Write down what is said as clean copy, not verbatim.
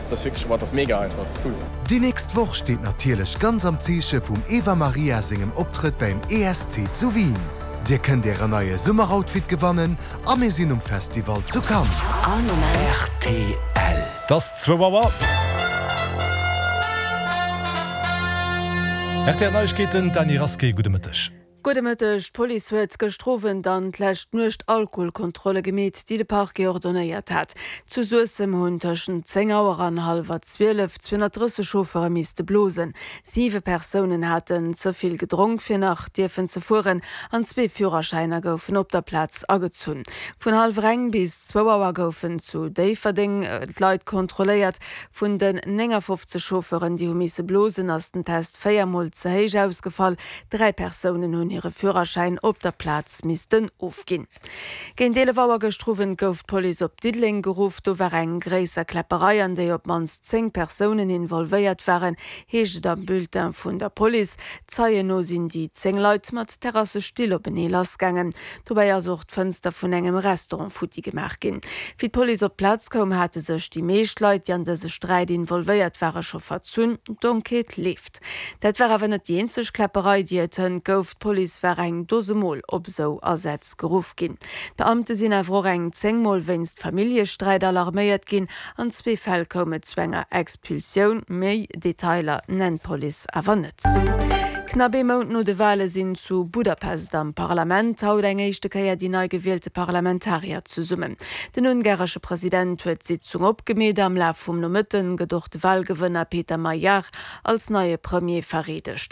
Dat ass wierklech, boah, dat ass mega einfach, dat ass cool. Déi nächst Woch steet natierlech ganz am Zeeche vum Eva Marija sengem Optrëtt bäim ESC zu Wien. Dir kënnt ären neie Summeroutfit gewannen a mir sinn um Festival zu Cannes. All Moment. Rtl. Et ass zwou Auer. Rtl Neiegkeeten, d'Dany Rasqué, gudde Mëtteg. Gudde Mëtteg. D'Police huet gëschter Owend an d'lescht Nuecht Alkoholkontrolle gemeet, déi de Parquet ordonnéiert hat. Zu Suessem hunn tëschent 10 Auer an hallwer 12 230 Chauffeure misste blosen. Siwe Persounen haten ze vill gedronk fir nach dierfen ze fueren an zwee Führerschäiner goufen op der Plaz agezunn. Vun hallwer eng bis zwou Auer goufen zu Déifferdeng d'Leit kontrolléiert. Vun den 59 Chauffeuren, déi hu misse blosen, ass den Test 4 Mol ze héich ausgefall. 3 Persounen hunn hire Führerschäin op der Plaz missten ofginn. Géint 11 Auer gëschter Owend gouf d'Police op Diddeleng geruff. Do war eng gréisser Kläpperei, an déi op d'mannst 10 Persounen involvéiert waren, heescht et am Bulletin vun der Police. Zeien no sinn déi 10 Leit mat Terrassestill openee lassgaangen. Dobäi ass och d'Fënster vun engem Restaurant futti gemaach ginn. Wéi d'Police op d'Plaz koum, hate sech déi meescht Leit, déi an dëse Sträit involvéiert ware scho verzunn. D'Enquête leeft. Dat war awer net déi eenzeg Kläpperei, déi et hënt gouf. D'Police war eng Dose Mol op esou Asätz geruff ginn. D'Beamte sinn awer och eng 10 Mol wéinst Familljesträit alarméiert ginn. An zwee Fäll koum et zu enger Expulsioun. Méi Detailer nennt d'Police awer net. Knapp ee Mount no de Wale sinn zu Budapest am Parlament haut eng éischte Kéier déi nei gewielte Parlamentarier zesummen. Den ungaresche President huet d'Sitzung opgemeet. Am Laf vum Nomëtten gëtt och de Walgewënner Peter Magyar als neie Premier vereedegt.